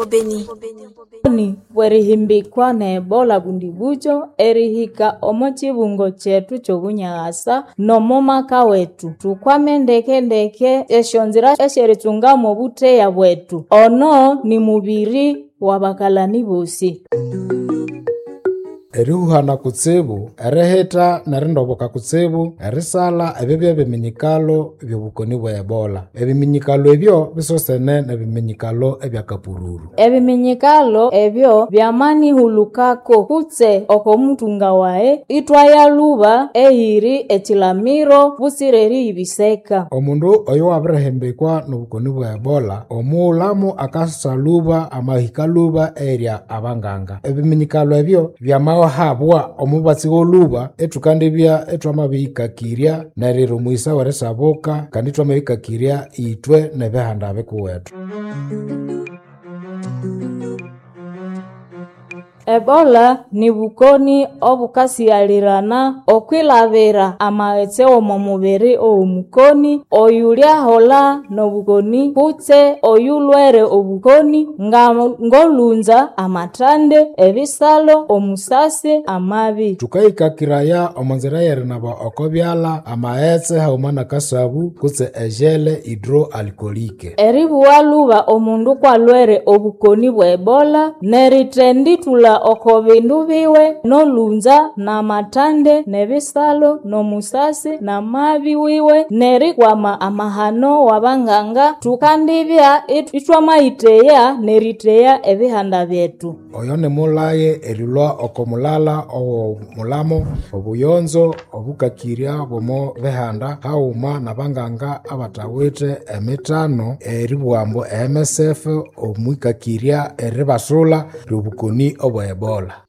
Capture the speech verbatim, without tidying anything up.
Beni. Ni bw'erihimbikwa ne Ebola Bundibugyo erihika omo kibungo kyethu ky'obunyughasa n'omo maka wethu. Thukwame ndeke-ndeke esyonzira esyeritsungamo obutheya bwethu. Ono ni mubiri w'abakalani bosi. Erihuhana kutsibu, erihitha nerindoboka kutsibu, erisalha ebyo byebiminyikalo byobukoni bwe Ebola. Ebiminyikalo ebyo bisosene nebiminyikalo ebya kapururu. Ebiminyikalo ebyo byamanihulukako kutse oko muthunga wayi ithwaya lhuba eyiri ekilamiro butsira eriyibiseka. Omundu oyo wabirihimbikwa nobukoni bwe Ebola, omughulhamu akasalhuba amahika lhuba eyiri abanganga. Ebiminyikalo ebyo byamahabwa omubatsi wolhuba ithukandibya ithwamabiyikakirya neriro omughisa werisabuka kandi ithwamabikakirya ithwe nebihanda bikuwethu. Ebola ni bukoni obukasighalirana okwilabira amaghetse w'omo mubiri ow'omukoni oyulyaholha n'obukoni kutse oyulhwere obukoni nga ng'olhunza, amathande, ebisalho, omusasi, amabi. Thukayikakiraya omo nzira y'erinaba oko byalha amaghetse haghuma n'akasabu kutse ejele hidroalcoolique. Eribugha lhuba omundu kwalhwere obukoni bwa Ebola nerithendithulha oko bindu biwe n'olhunza n'amathande n'ebisalho n'omusasi n'amabi wiwe nerikwama amahano w'abanganga. Thukandibya ithwamayitheya neritheya ebihanda byethu. Oyo nimulhaye erilhwa oko mulhalha owo mulhamo obuyonzo obukakirya bw'omo bihanda haghuma n'abanganga abathawithe emithano eribugha ambu e M S F omwikakirya eribasulha ly'obukoni obwa Ebola.